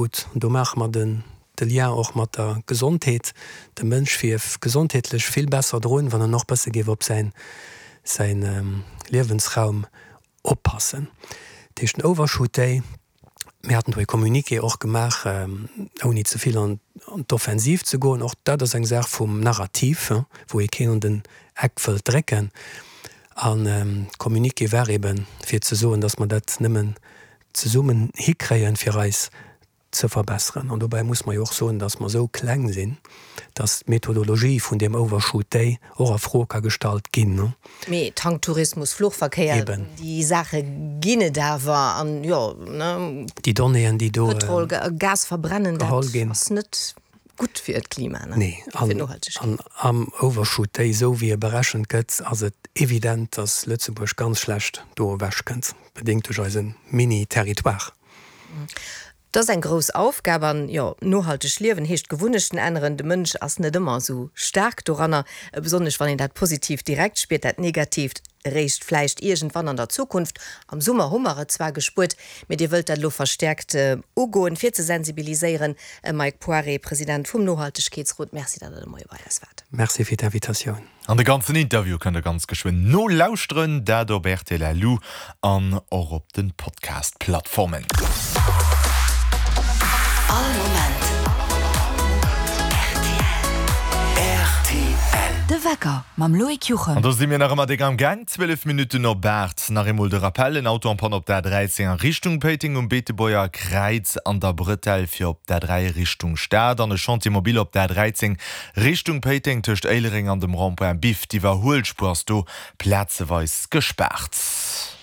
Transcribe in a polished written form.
gutt. Do maache mer den de Lien och mat der Gesondheet. De Mënsch wier gesondheetlech vill besser drun, wann en och bësse géif op säin säin Liewensraum oppassen. Dat heescht den Overshoot Day, mir haten do e Communiqué och gemaach, ouni ze vill an d'Offensiv ze goen, och dat ass eng Saach vum Narrativ, wou ee keen an den Eck wëllt drécken. An de Communiqué war eeben, fir ze soen, datt mer dat nëmmen zesummen hikréien, fir eis ze verbesseren. An dobäi muss mer jo och soen, dass mer esou kleng sinn, dass d'Methodologie vun deem Overshoot Day och a Fro ka gestallt ginn. Mee Tanktourismus, Fluchverkéier, déi Saache ginn et awer. An jo, ne. Déi Donnéeën, déi do. Pëtrol, Gas verbrennen, dat ass net gutt fir d'Klima, ne? Nee. An am Overshoot Day, esou wéi e berechent gëtt, ass et evident, dass Lëtzebuerg ganz schlecht do ewechkënnt, bedéngt duerch eise Mini-Territoire. Dat ass eng grouss Aufgab an, jo, nohalteg liewen heescht Gewunnechten änneren. De Mënsch ass net ëmmer esou staark doranner, besonnesch wann een dat Positiivt direkt spiert, dat Negatiivt eréischt vläicht iergendwann an der Zukunft. Am Summer hu mer et zwar gespuert, mee Dir wëllt dat elo verstäerkt ugoen, fir ze sensibiliséieren. Mike Poiré, President vum Nohaltegkeetsrot, Merci, datt Der de Moie bei eis waart. Merci fir d'Invitatioun. An de ganzen Interview kënnt der ganz geschwënn nolauschteren, dat op rtl Lu an och op de Podcast-Plattformen. All Moment rtl. Rtl. De Wecker mam Loïc Juchem. An do si mir nach ëmmer déck am Gaang, 12 Minutten op 8. Nach eemol de Rappel, En Auto en panne op der A13 a Richtung Péiteng um Beetebuerger Kräiz an der Bretelle fir op d'A3 Richtung Stad an e Chantier mobile op der A13 Richtung Péiteng tëscht Éilereng an dem Rond-point Biff. D'Iwwerhuelspuer ass do plazeweis gespaart.